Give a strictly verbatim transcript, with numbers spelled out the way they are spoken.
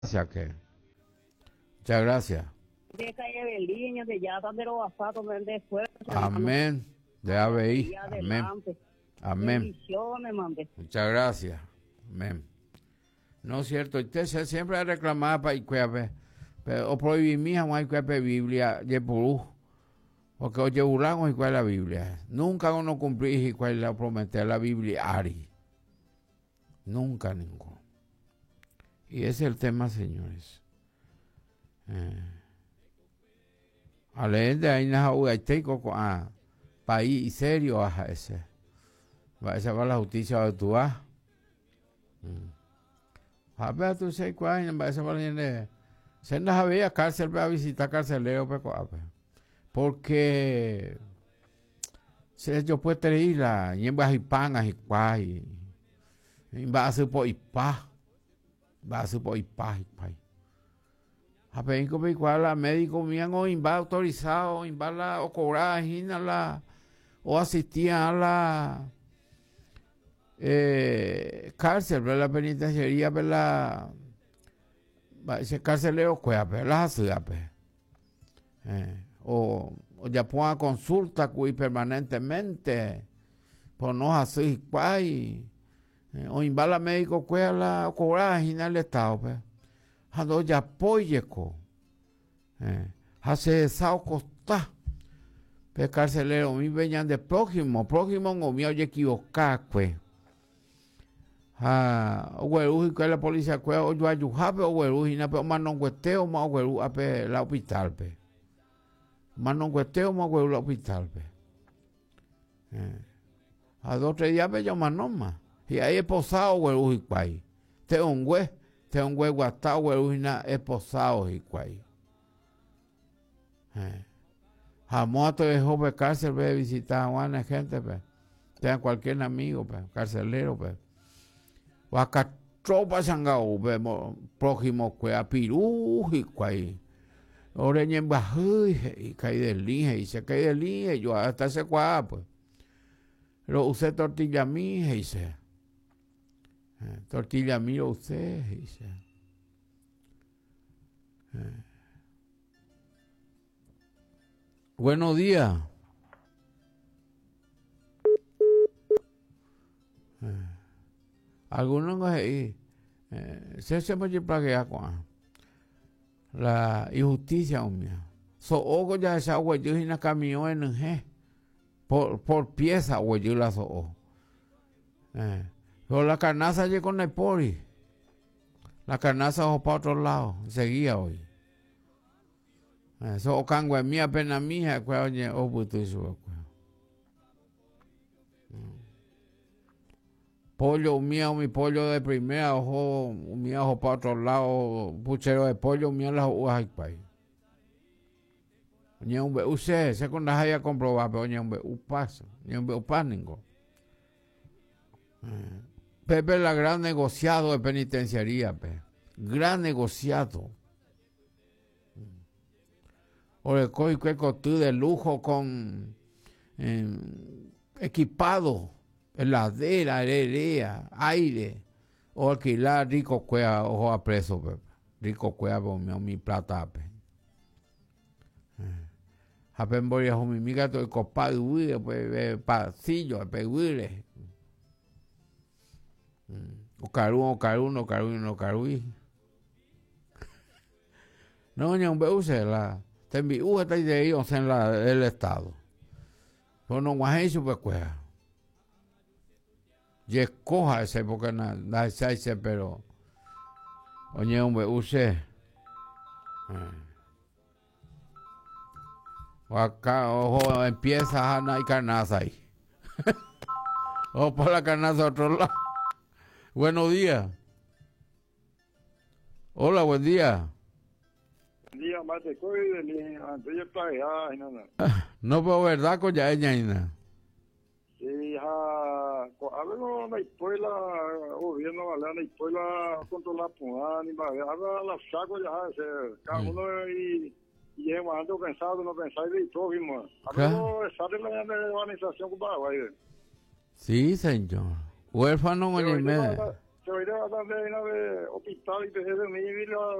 Que. Muchas gracias. Amén. De A B I. Amén. Amén. Muchas gracias. Amén. No es cierto. Usted siempre reclamaba para Icuepe, pero o prohibí mi jamás Icuepe Biblia, Yepurú, porque oye burlamos igual la Biblia. Nunca uno cumplí igual la prometí la Biblia Ari. Nunca ninguno. Y ese es el tema, señores. Eh. Ale de ahí na ugaiteco a país serio a ese. Va esa va la justicia de tu va. A ver tú sé cuál va esa va la se na había cárcel para visitar carcelero pe porque se yo puede ir la ñemba y pan y cuai va a su po y pa va a su po y pa y pa a pe inco pe cual la médico mían o imba autorizado imba la o cobrar la o asistía a la eh, cárcel la penitenciaría la ese carcelero cuea pe la ciudad pe eh, o, o ya ponga consulta cui permanentemente por no así cuai eh, o imbala médico cuea la o cobrar el estado pe ando ya poyeco eh, hace sao costa pe carcelero mi veñan de prójimo prójimo o mi oye equivocar cue ah o güeru y la policía cue o yo ayujape o güeru y na pe o manongueteo ma o güeru a pe la hospital pe manongueteo ma güeru la hospital pe eh. A dos tres días pe yo manoma y ahí esposado güeru y cuay te ongüe te ongüe guatao güeru y na esposado y cuay eh. Jamás te dejó pe cárcel pe visitar a buena gente pe tenga cualquier amigo pe carcelero pe Vacatropa sangao pe prójimo cuea pirú y cuay ore ñembajú y caí del lige y se caí del lige yo hasta se cuá pues lo usé tortilla mi y se tortilla mi lo usé y se eh. Buenos días. Eh. Algunos ahí eh, se se me plaguea con la injusticia mía. So ogo ya esa huello y na camión en G por por pieza huello la so. Eh, pero la carnaza llegó con el pori. La carnaza ojo para otro lado, seguía hoy. Eso o cangua mía pena mía cuál oye o butu su pollo mío mi pollo de primera ojo mío ojo para otro lado puchero de pollo mío las uvas y ni un be use se con las haya comprobar pero ni un be upas ni un be upas ningo Pepe la gran negociado de penitenciaría pe gran negociado o el coico de lujo con eh, equipado heladera, heredera, aire, o alquilar rico cuea, ojo a preso, pe. Rico cuea, mi, mi plata, pe. Japen voy a mi miga, todo el copado, pues, pasillo, pe, huire. O carú, o carú, no carú, no carú. No, ni un beuse, la, te envió hasta de ahí, o sea, en la, el estado. Pero no guajé su pe cuea. Y escoja ese porque na na ese pero oye hombre use o acá ojo empieza a y carnaza ahí o por la carnaza a otro lado. Buenos días. Hola, buen día. Buen día, mate, no, pero verdad con ya ella ina. Sí, ha, algo na escuela, gobierno, vale, na escuela controlar puna, ni va, haga la saco ya, se, cada uno y y ando pensado, no pensado y prójimo. Algo sale la organización con Paraguay. Sí, señor. Huérfano en el medio. Se oirá también de hospital y